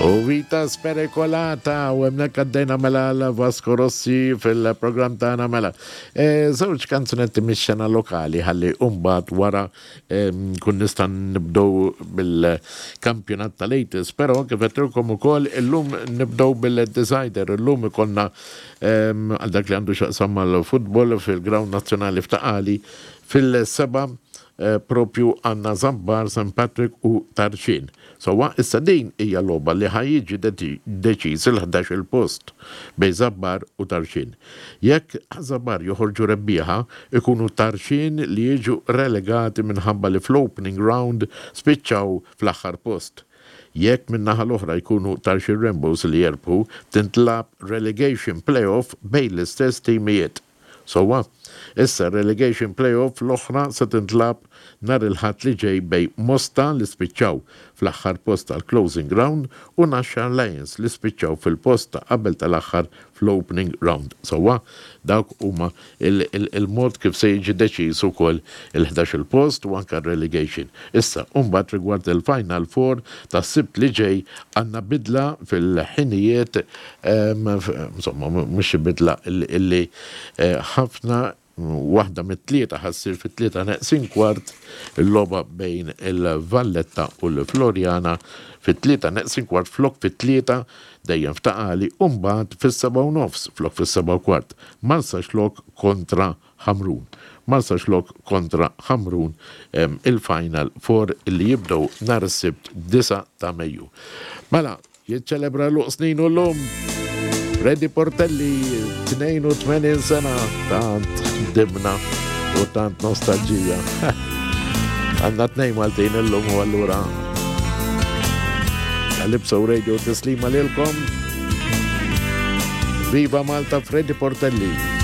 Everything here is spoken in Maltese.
U Vita Spericolata u hemmhekk għaddejna mela l Vasco Rossi fil-programm tagħna mela. E, żewġ kanzunetti mix-xena lokali ħalli mbagħad wara kun nista' nibdew bil-kampjonat tal-80s, però kif għedtilkom ukoll illum nibdew bil-decider, illum ikollna għal dak li għandu x'jaqsam mal-futbol fil-Ground Nazzjonali f'Ta' Qali fil-seba' propju għandna Żabbar, St Patrick u Tarxien. Sewwa, issa din hija logħba li ħa jiġi deċiż il-ħdax-il post bejn Żabbar u Tarxien. Jekk Żabbar joħorġu rebbieħa, ikunu Tarxien li jiġu relegati minħabba li fl-opening round spiċċaw fl-aħħar post. Jekk min-naħa l-oħra jkunu Tarxien Rainbows li jerbħu, tintlagħab relegation play-off bejn l-istess timijiet. Sewwa, issa r-relegation play-off l-oħra se tintlagħab nhar il-Ħadd li ġej bejn Mosta li spiċċaw fl-aħħar post tal-closing round u Naxxar Lions li spiċċaw fil-post ta' qabel tal-aħħar fl-opening round. Sewwa, dawk huma il-mod kif se jiġi deċiż ukoll il-ħdax-il post u anke r-relegation. Issa, u mbagħad rigward il-final four tas-Sibt li ġej għandna bidla fil-ħinijiet Insomma, mhux xi bidla illi eh, ħafna waħda mit-tlieta ħassir fit-tlieta neqsin kwart il-logħba bejn il-Valletta u l-Floriana fit-tlieta neqsin kwart flok fit-tlieta dejjem f'Ta' Qali u mbagħad fis-seba' u nofs flok fis-seba' u kwart. Marsaxlokk kontra Ħamrun. Marsaxlokk kontra Ħamrun il-Final Four illi jibdew nhar is-Sibt 9 ta' Mejju. Mela, Jiċċelebra għeluq sninu llum Freddy Portelli, 82 sena, tant dimna u tant nostalġija. Għanna tnej Maltin illum u allura Calypso Radio tislima lilkom. Viva Malta Freddy Portelli.